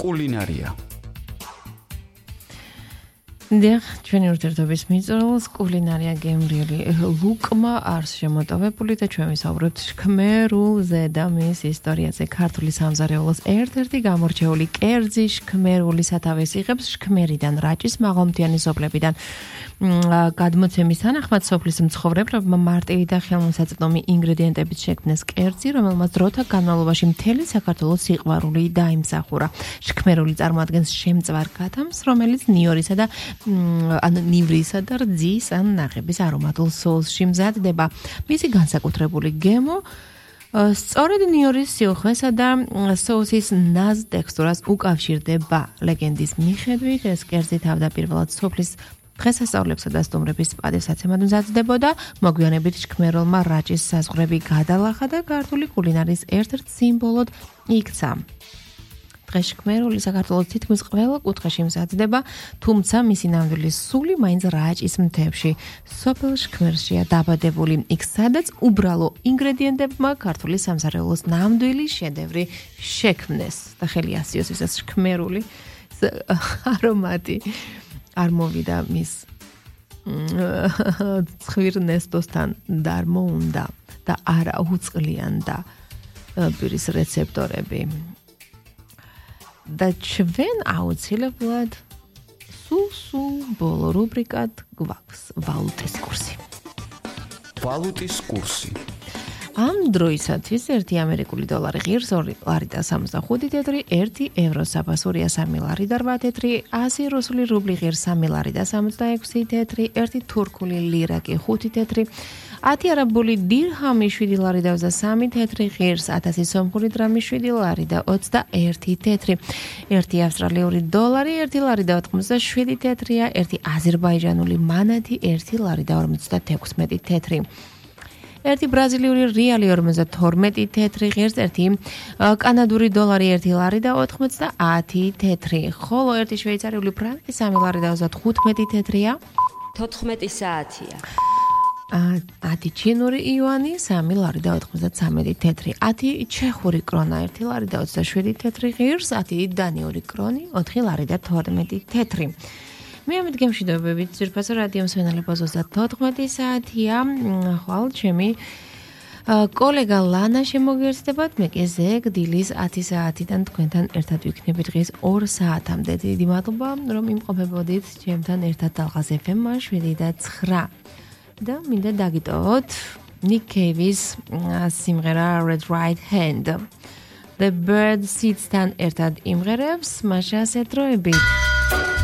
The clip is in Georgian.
კულინარია. დიახ, ჩვენი ურთიერთობის მიწურულს კულინარია გემრიელი ლუკმა არის შემოტოვებული და ჩვენ ვისაუბრებთ შქმერულზე და მის ისტორიაზე. ქართული სამზარეულოს ერთ-ერთი გამორჩეული კერძი შქმერული სათავეს იღებს შქმერიდან, რაჭის მაღალმთიანი სოფლებიდან. გადმოცემის თანახმად სოფლის მცხოვრებლებმა მარტივი და ხელმისაწვდომი ინგრედიენტებით შექმნეს კერძი, რომელმაც დროთა განმავლობაში მთელი საქართველოს სიყვარული დაიმსახურა. შქმერული წარმოადგენს შემწვარ გათამს, რომელიც ნიორისა და ნივრისა და რძის ან ნაღების არომატულ სოუსში მზადდება. მისი განსაკუთრებული გემო სწორედ ნიორის სიუხვესა და სოუსის ნაზ ტექსტურას უკავშირდება. ლეგენდის მიხედვით ეს კერძი თავდაპირველად სოფლის დღესასწაულებსა და სტუმრების პატივსაცემად მზადდებოდა. მოგვიანებით შქმეროლმა რაჭის საზღვრები გადალახა და ქართული კულინარიის ერთ-ერთ სიმბოლოდ იქცა. დღეს შქმერული საქართველოს თითქმის ყველა კუთხეში მზადდება, თუმცა მისი ნამდვილი სული მაინც რაჭის მთებში, სოფელ შქმერშია დაბადებული, იქ სადაც უბრალო ინგრედიენტებმა ქართული სამზარეულოს ნამდვილი შედევრი შექმნეს. და ხელი ასიოს ისაც შქმერული არომატი არ მოვიდა მის ცხვირნესტოსთან დარმოუნდა და არა უწყლიანდა პირის რეცეპტორები. და ჩვენ აუცილებლად სულ ბოლო რუბრიკად გვაქვს ვალუტის კურსი. ვალუტის კურსი. ამ დროისათვის 1 ამერიკული დოლარი ღირს 2 ლარი და 65 თეთრი, 1 ევრო საფასურია 3 ლარი და 8 თეთრი, 100 რუსული რუბლი ღირს 3 ლარი და 66 თეთრი, 1 თურქული ლირა კი 5 თეთრი, 10 არაბული დირჰამი 7 ლარი და 23 თეთრი, ღირს 1000 სომხური დრამი 7 ლარი და 21 თეთრი, 1 ავსტრალიური დოლარი 1 ლარი და 87 თეთრია, 1 აზერბაიჯანული მანათი 1 ლარი და 56 თეთრი. 1 ბრაზილიური რეალი 52 თეთრი, ღირს 1 კანადური დოლარი 1 ლარი და 90 თეთრი, ხოლო 1 შვეიცარიული ფრანკი 3 ლარი და 35 თეთრია. 14 საათია. 10 ჩინური იუანი 3 ლარი და 93 თეთრი, 10 ჩეხური კრონა 1 ლარი და 27 თეთრი, ღირს 10 დანიური კრონი 4 ლარი და 12 თეთრი. მე ამით გემშვიდობებით ძვირფასო რადიო მსმენელებს 14 საათია. ხვალ ჩემი კოლეგა ლანა შემოგიერთდებათ, მე კი ზეგ დილის 10 საათიდან თქვენთან ერთად ვიქნები დღეს 2 საათამდე. დიდი მადლობა რომ იმყოფებოდით ჩემთან ერთად დალღაზ FM-მა 7 და 9. და მინდა დაგიტოვოთ Nick Cave-ის სიმღერა Red Right Hand. The Bird Seeds-თან ერთად იმღერებს მაშა ასეთ დროებით.